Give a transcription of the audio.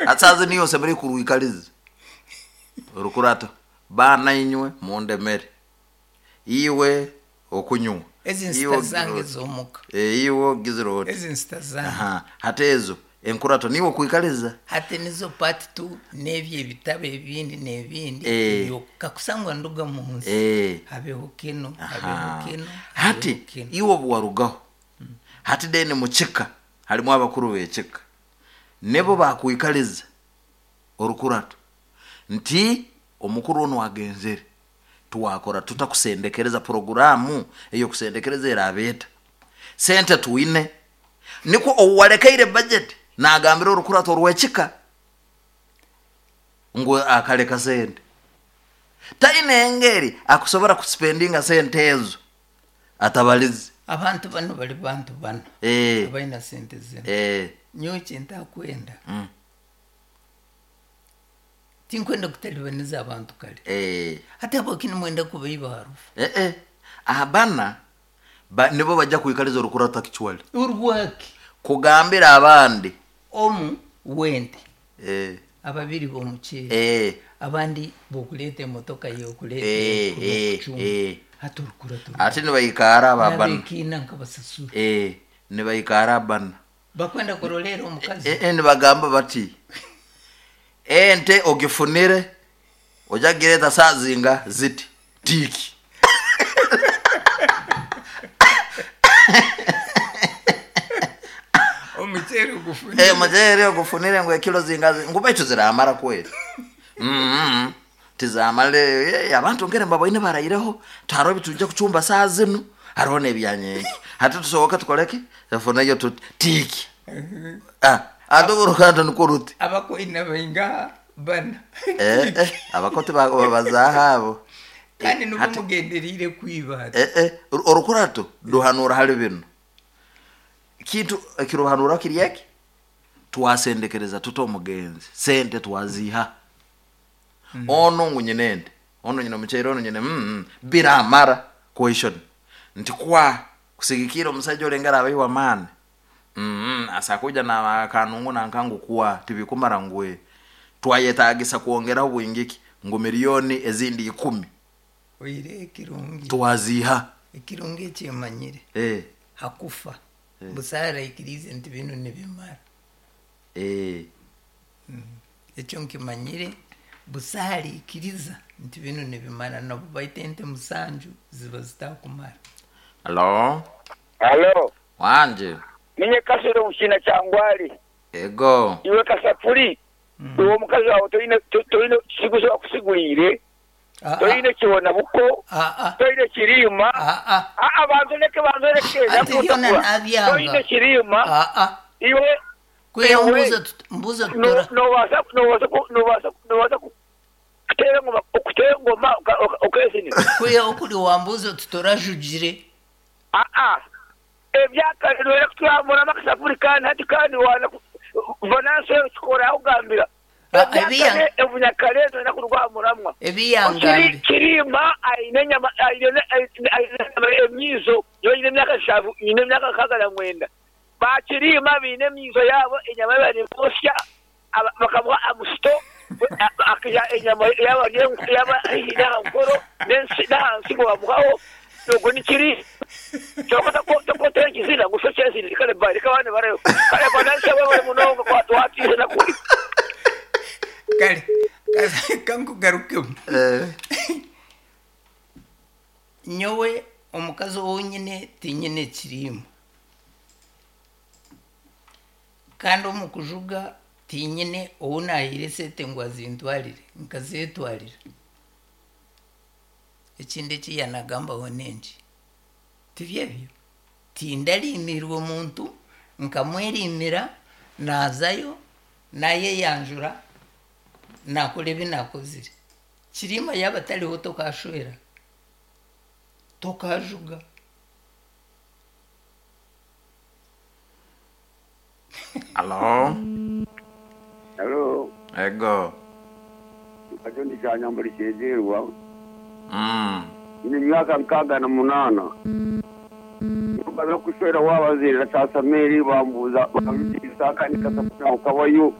Hati saaha zinu iwe osemeriire kurwikaliza orukurato, baana inywe mundemere, iwe okunywa, Ezi iwe nsita ogizire zange oti, z'omuka. eh, iwe ogizire oti. Ezi nsita zange. Aha, hati ezo enkurato niiwe okwikaliza. Hati nizo part tu n'ebyo ebitabo ebindi n'ebindi Eh. ebyo kakusangwa nduga mu nsi Eh. habeho kinu habeho Aha. kinu Hati habeho kinu. iwe obu warugaho, hati then mu kika harimu abakuru b'ekika, nibo bakwikaliza orukurato nti omukuru onu agenzere, twakora tuta kusendekereza puroguraamu ey'okusendekereza eraaba eta? Sente twine, nikwo ou warekaire bajeti naagambira orukurato orw'ekika ngu akareka sente. Taine engeri akusobora kusipendinga sente ezo atabalize. Abantu banu bari bantu bana Eh. abaine sente zinu. Eh. Nyowe ekintakwenda, tinkwenda kutalibaniza abantu kare. Eh. Hati habwaki nimwenda kubaiba harufu? Eh eh. Abana ba, nibo bajja kwikaliza orukurato actually. Orwaki? Kugambira abandi. Omu wente. Eh. Ababiri b'omuceeri. Eh. Abandi b'okureeta emotoka y'okureeta Eh, eh, okucumba. eh. Hati orukurato Ati nibaikara aba bana. N'abekiina nkabasasura. Eh, nibaikara abana. Bakwenda kuroleera omukazi. Eh, eh, nibagamba bati ente ogifunire ojja kugireeta saa zinga ziti tiiki. Omuceeri ogufunire. Eh, omuceeri ogufunire ngu ekilo zinga zi- ngu baitu ziramara kweli. Tizamara eh, abantu ngere mbaboine baraireho tihariho ebitujja kucumba saa zinu hariho n'ebyanyenki hati tusoboke tukoreki tufuneyo tuti tiiki. Ah, ate oruganda nikwo ruti. Abakoina baingaha bana. Eh, eh, abako tibabazaaho abo. Kandi nubwo Hati- mugendereire kwiba hati. Eh, eh, orukurato ruhanura hali binu. Kintu ekiruhanura kiri eki, twasendekereza tuta omugenzi, sente twaziiha. Onu ngu nyine ente, onu nyine omuceeri, onu nyine biramara question. Nti kwa kusigikiira omusaija ori engeri abaire w'amaani, asa kwija na kanungu nanka ngu kwa tibikumara ngu ee. Twayetaagisa kwongeraho bwingi ki ngu milioni ezindi ikumi. Oihireho ekirungi. Twaziiha. Ekirungi eki emanyire. Eh. Hakufa. Eh. Busaho araikiriize nti binu nibimara. Eh. Ekyo nkimanyire, busaho araikiriza nti binu nibimara n'obu baita ente musanju ziba zitakumara. Halo. Halo. Wangye. Ninye Kasero omu kiina kya Ngwari. Ego. Iwe Kasapuri, iwe omukazi waawe toine toine kisiguzi akusiguriire, toine kibona buko, toine kiriima. Aa banza ondeke banza ondeke Anti byona nyakutakura. nabyanga. Toine kiriima. Iwe Kwiha iwe mbuza mbuza no- tutora. nobaasa nobaasa ku- nobaasa nobaasa ku- kuteera engoma okuteera engoma oka- oka- okeezinira. Kwiha okuri wambuza oti torajugire. Aa ebyakare noyenda kuturamuramu akasapuri kandi hati kandi waana vanansi eyo kikora yakugambira ebyakare obunyakare noyenda kurwamuramwa. Ebi yangambi. Kiriima aine enyama aine aine emiizo nyowe nyine emyaka nshanju nyine emyaka nkaaga na mwenda. Ba Kiriima baine emiizo yaabo enyama yaaba nibosya bakamuha amusito akaiha enyama yaaba yaaba haihi n'aha nkoro n'aha nsigo bamuhaho ogwo ni Kiriima. Kwonka tokwota ekizina ngu shokya ezindi kare bba reka abandi bareho. Kare Banansi webare munonga kwatwatiire na kuri. Kare kankugarukemu. Nyowe omukazi ou nyine tinyine kiriima. Kandi omu kujuga tinyine ou naahaire esente ngu azintwarire, nkazeetwarira. Ekindi eki yaanagambaho n'enki? Tibyo ebyo? Tindariimirwe muntu, nkamweriimira, naazayo, naayeyanjura, naakora ebi naakozire. Kiriima yaaba atariho tokaashwera, tokaajuga. Halo. Halo. Ego. Nkajo ndi Kyanyambuli Kyegyerwa. Nyine emyaka 68. Mbaza kushwera waabazaire na Kyasameeri bambuuza bambiisa kandi kasapuri nkabayo.